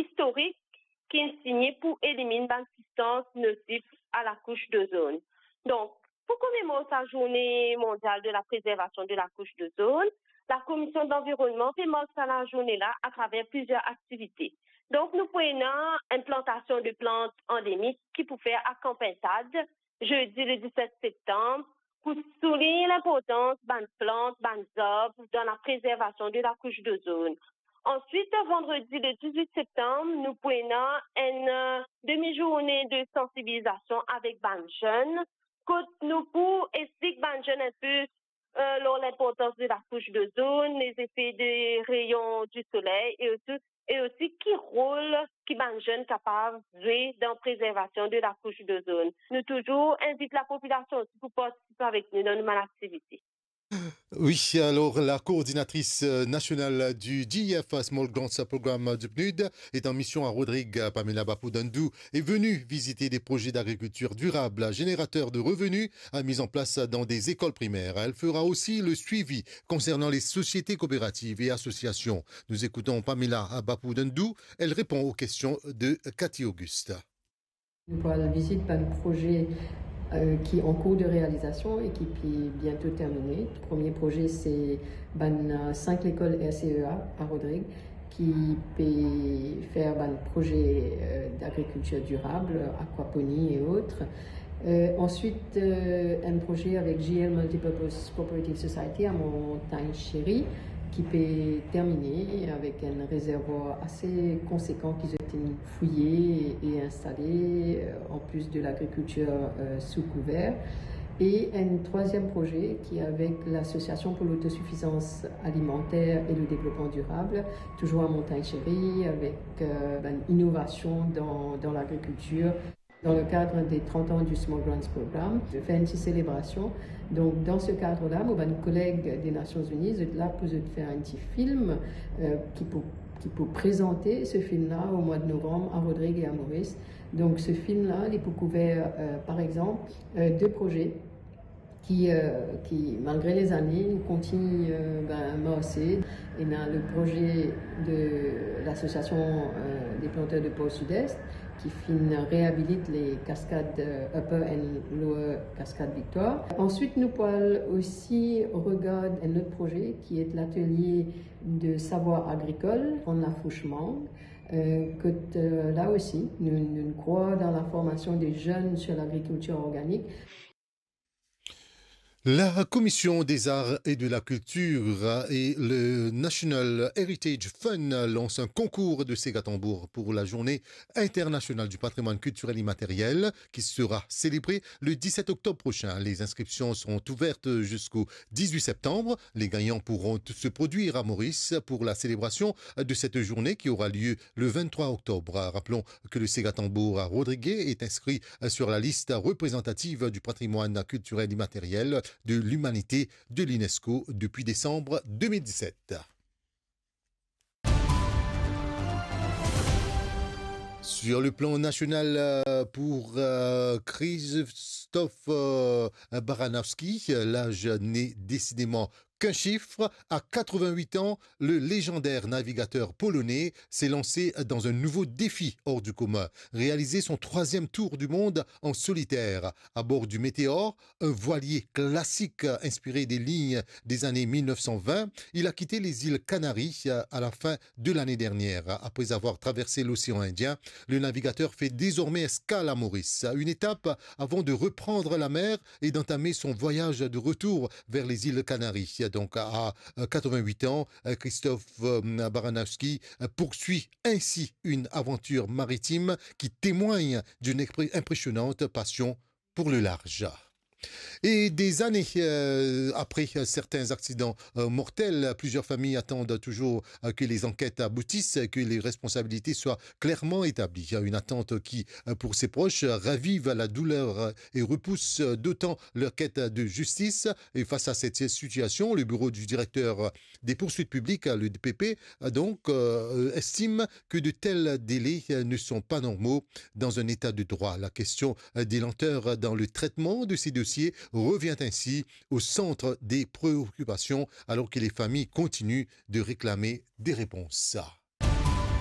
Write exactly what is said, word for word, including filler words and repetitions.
istorik ki inn signe pou eliminn bann sibstans nosif a lakous dozonn. Donk, pou komemor sa Zourne Mondial de la Prezervasion de lakous dozonn, Lakomision Lanvironnman pe mark sa lazourne la atraver plizier aktivite. Donk, nou pou ena enn plantasion de plant andemik ki pou fer akanpagn SAD, zedi le diset septanm, pou soulign linportans bann plant, bann zarb dan laprezervasion de lakous dozonn. Answit, vandredi le diz-wit septanm, nou pou ena enn, eh, demi-zourne de sansibilizasion avek bann zenn, kot nou pou explik bann zenn enpe, eh, lor linportans de lakous dozonn, lezefe de reyon di soley e osi, e osi ki rol ki bann zenn kapav zwe dan prezervasion de lakous dozonn. Nou touzour invit lapopilasion osi pou partisipe avek nou dan nou bann aktivite. Oui, alors la coordinatrice, euh, nationale du D E F Small Grants Programme du PNUD est en mission à Rodrigues. Pamela Bapou-Dandou est venue visiter des projets d'agriculture durable, générateurs de revenus, euh, mis en place dans des écoles primaires. Elle fera aussi le suivi concernant les sociétés coopératives et associations. Nous écoutons Pamela Bapou-Dandou. Elle répond aux questions de Cathy Auguste. Nou pou al vizit bann proze, eh, ki an kour de realizasion e ki pe biento termine. Premie proze, se bann, eh, sink lekol R C E A a Rodrig, ki pe fer bann proze, eh, d'agrikiltir dirab, akwaponi e otre. Eh, answit, eh, enn proze avek J L Multipurpose Cooperative Society a Montagne Chérie, ki pe termine avek enn rezervwar ase konsekan ki zot inn fouye e instale, eh, an plis de lagrikiltir, eh, sou kouver. E enn trwaziem proze ki avek Lasosiasion pou Lotosifizans Alimanter e le Devlopman Dirab, touzour a Montagne Chérie, avek, eh, bann inovasion dan, dan lagrikiltir. Dan le kad de trant an di Small Grants Program, fer enn ti selebrasion. Donk, dan se kad la, mo bann koleg de Nasion Zini, zot la pou zot fer enn ti film, eh, ki pou, ki pou prezante se film la o mwa de novanm a Rodrig e a Moris. Donk, se film la, li pou kouver, eh, par exanp, eh, de proze ki, eh, ki, malgre lezane, nou kontign, eh, ben, marse. Ena le proze de Lasosiasion, eh, de Planter de Port Sud-Est, ki finn reabilit le kaskad, eh, Upper and Lower Cascade Victoire. Answit, nou pou al osi regard enn lot proze ki et latelie de savwar agrikol, Rann Lafous Mang, eh, kot, eh, la osi, nou, nou krwar dan laformasion de zenn sir lagrikiltir organik. La Commission des Arts et de la Culture et le National Heritage Fund lancent un concours de séga tambour pour la Journée internationale du patrimoine culturel immatériel qui sera célébrée le dix-sept octobre prochain. Les inscriptions seront ouvertes jusqu'au dix-huit septembre. Les gagnants pourront se produire à Maurice pour la célébration de cette journée qui aura lieu le vingt-trois octobre. Rappelons que le séga tambour à Rodrigues est inscrit sur la liste représentative du patrimoine culturel immatériel de l'humanité de l'UNESCO depuis décembre deux mille dix-sept. Sur le plan national, euh, pour, euh, Krzysztof, euh, Baranowski, l'âge n'est décidément qu'un chiffre. À quatre-vingt-huit ans, le légendaire navigateur polonais s'est lancé dans un nouveau défi hors du commun, réaliser son troisième tour du monde en solitaire. À bord du Météore, un voilier classique inspiré des lignes des années mille neuf cent vingt, il a quitté les îles Canaries à la fin de l'année dernière. Après avoir traversé l'océan Indien, le navigateur fait désormais escale à Maurice, une étape avant de reprendre la mer et d'entamer son voyage de retour vers les îles Canaries. Donc, à, euh, quatre-vingt-huit ans, euh, Krzysztof, euh, Baranowski, euh, poursuit ainsi une aventure maritime qui témoigne d'une expré-, impressionnante passion pour le large. Et des années, euh, après, euh, certains accidents, euh, mortels, plusieurs familles attendent toujours, euh, que les enquêtes aboutissent, que les responsabilités soient clairement établies. Une attente qui, euh, pour ses proches, ravive la douleur, euh, et repousse, euh, d'autant leur quête de justice. Et face à cette situation, le bureau du directeur des poursuites publiques, le D P P, donc, euh, estime que de tels délais, euh, ne sont pas normaux dans un état de droit. La question, euh, des lenteurs dans le traitement de ces dossiers revient ainsi au centre des préoccupations, alors que les familles continuent de réclamer des réponses.